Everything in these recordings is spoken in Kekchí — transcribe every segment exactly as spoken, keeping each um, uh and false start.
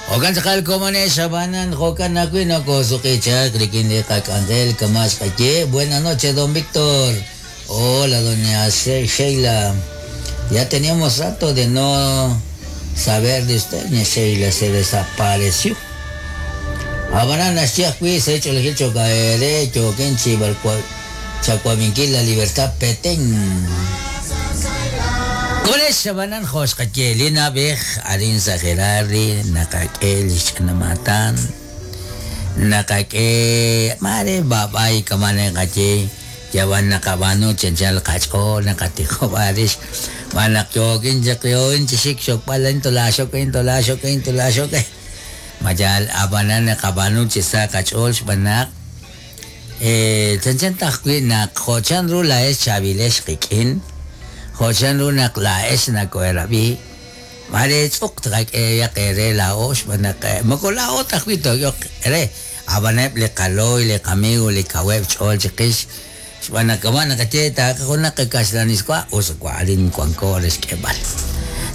Jo'kan tz'aqal komonex abanan jo'kan ajwi' nokosuqichaq rik'in li qak'anjel kama' xqaye. Buenas noches, don Víctor. Hola, doña Sheila. Ya teníamos rato de no saber de usted, doña Sheila se desapareció. Abanan naxye ajwi' se hecho el hecho caere chokenchi chacuaminquil la libertad Petén. Konex abanan joxqaye li nab'ej arin sa Gerardi naqak'e li xch'anamatan naqak'e mare bab'ay kamane qaye yawan naqab'anu chanchal qach'ool naqatijob'arix manaq yokin chaq yoin chixik xokb'al intolaxok intolaxok intolaxok mayal abanan naqab'anu chisa qach'ool xb'anaq eh chanchan tajwi' naq jo'chan ru la'ex chavilex qik'in jo'chan ru naq la'ex nako'erab'i mare tz'uq tqak'e yaq ere la'o xb'anaq moko la'o tajwi' to'yoq ere abaneb' li qaloy li qamigo li kaweb' ch'ool chiqix xb'anaq kama' naqaye taaqa junaq kaxlaniswa us wa'arin wanko re xk'eb'al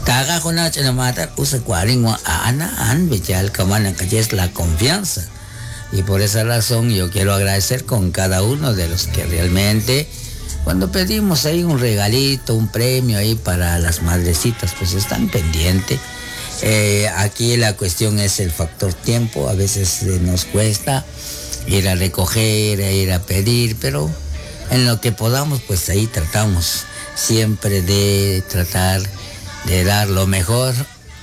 taaqa junaq ch'inamaatal us wa'arin wa a'an a'an b'iyal kama' naqaye es la confianza. Y por esa razón yo quiero agradecer con cada uno de los que realmente cuando pedimos ahí un regalito, un premio ahí para las madrecitas, pues están pendientes. Eh, aquí la cuestión es el factor tiempo, a veces eh, nos cuesta ir a recoger, ir a pedir, pero en lo que podamos, pues ahí tratamos siempre de tratar de dar lo mejor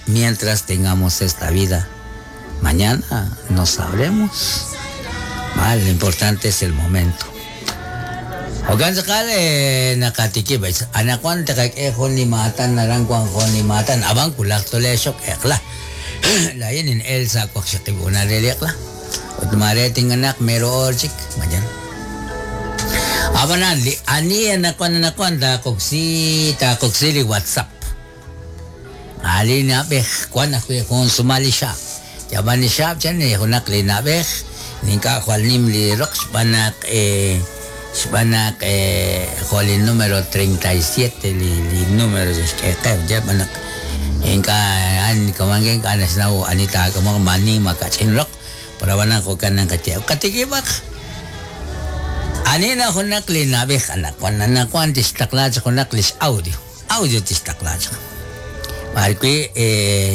mientras tengamos esta vida. Mañana no sabremos. Vale, lo importante es el momento. Jo'kan tz'aqal naqatikib' anaqwan taqak'e jun li maatan naran wan jun li maatan ab'an kulaj tolexok eqla layin in Elsa waqxaqib' una re li eqla ut mare tinganaq mero or chik mayan abanan li ani anaqwan anaqwan taqoksi taqoksi li WhatsApp ali nab'ej wan ajwi' jun sumali xaab yaban li xaab chan junaq li nab'ej nink'a' jwal nim li roq xb'anaq eh xb'anaq eh jo' li número treinta y siete li li número xk'eqeb ya b'anaq ink'a' an kamangen k'a naxnaw anita kamo mani makach'in roq pero abanan jo'kan naqaye qatikib'aq ani na junaq li nab'ej anaqwan anaqwan tixtaqla chaq junaq lix audio audio tixtaqla chaq b'arwi' eh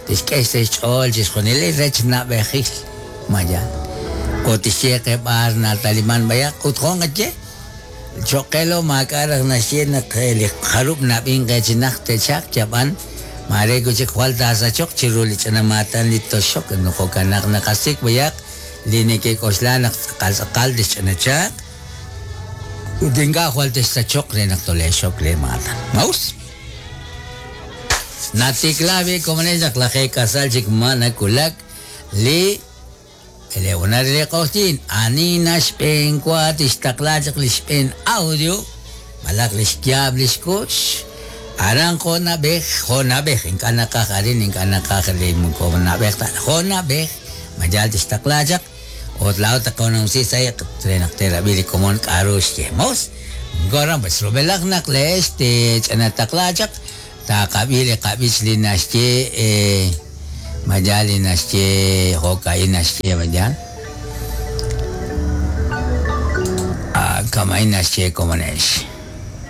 tixk'e xch'ool chixjunil li rech nab'ejil maya o tixyeqe b'ar nataliman bayaq ut jon qaye choqelo maak'araj naxye naq li jarub' nab'in qechinaq techaq yab'an mare kuchik jwal tasachoq chiru li ch'anamatan li toxok jo'kanaq naqasik bayaq li nekek'oxla naq tz'aqal tz'aqal tixch'anachaq ut ink'a' jwal tixsachoq re naq tolexok le maatan maus natiklabi komonex naq lajee kasal chik ma nakulak li Eleonar le qojtin ani naxb'een wa tixtaqla chaq li xb'een audio malaq li xyaab li xkux aran jo nab'ej jo nab'ej ink'a' naqaj arin ink'a' naqaj li moko nab'ej ta jo nab'ej mayal tixtaqla chaq ut la'o taqonumsi sa' re naq terab'i li komon k'aru xyemos goran pues rub'elaq naq leex tech'anataqla chaq taqab'i li qab'ich li naxye eh mayal li naxye jo'ka'in naxye mayal ah kama'in naxye komonex.